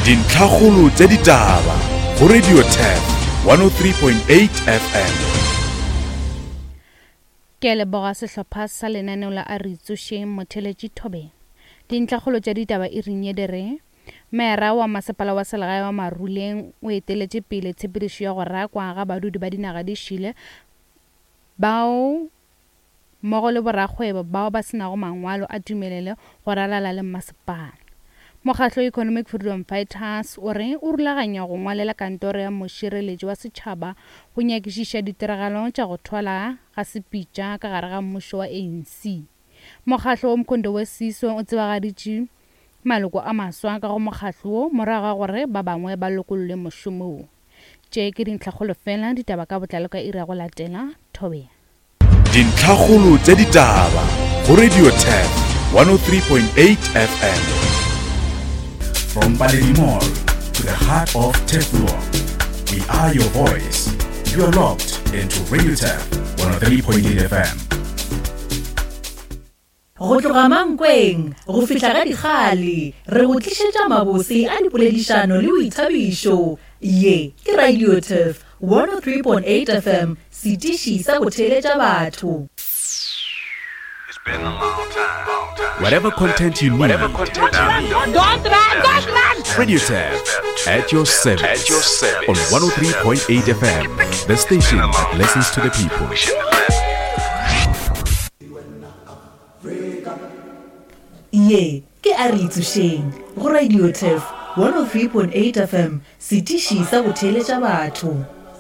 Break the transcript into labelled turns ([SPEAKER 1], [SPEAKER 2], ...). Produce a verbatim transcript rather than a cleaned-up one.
[SPEAKER 1] Dintlhakgolo tša ditaba go Radio Turf one oh three point eight F M.
[SPEAKER 2] Ke a leboga sehlopha sa lenaneo la A Re Tsošeng Motheletši Thobeng. Dintlhakgolo tša ditaba e reng ye di re Meera wa masepala wa selegae wa Maruleng o eteletše pele tshepedišo ya go rakwa ga badudi ba dinaga di šile bao mmogo le borakgwebo bao ba senago mangwalo a tumelelo go ralala le masepala. Mokgatlo Economic Freedom Fighters o re o rulaganya go ngwalela kantoro ya mošireletši wa setšhaba go nyakišiša ditiragalo tša go thwala ga sepitša ka gare ga mmušo wa A N C. Mokgatlo wa Umkhonto we Sizwe o tsebagaditše maloko a maswa ka go mokgatlo wo morago ga gore ba bangwe ba lokollwe mošomong. Tše ke dintlhakgolo fela, ditaba ka botlalo ka iri ya go latela. Thobela.
[SPEAKER 1] Dintlhakgolo tša ditaba go Radio Turf one oh three point eight F M. From Paledi Mall to the heart of Turfloop, we are your voice. You are locked into Radio Turf one oh three point eight F M.
[SPEAKER 3] Go tloga Mankweng go fihla ga Dikgale, re go tlišetša mabose a dipoledišano le boithabišo. Ye ke Radio Turf one oh three point eight F M, setiši sa go theeletša batho.
[SPEAKER 1] Whatever content you need,
[SPEAKER 4] Whatever content you need.
[SPEAKER 5] Don't run, don't run.
[SPEAKER 1] Radio Turf at your service.
[SPEAKER 4] At your service.
[SPEAKER 1] On one oh three point eight F M, the station that listens to the people.
[SPEAKER 3] Ye ke a re tsošeng go Radio Turf one oh three point eight F M, setiši sa go theeletša batho.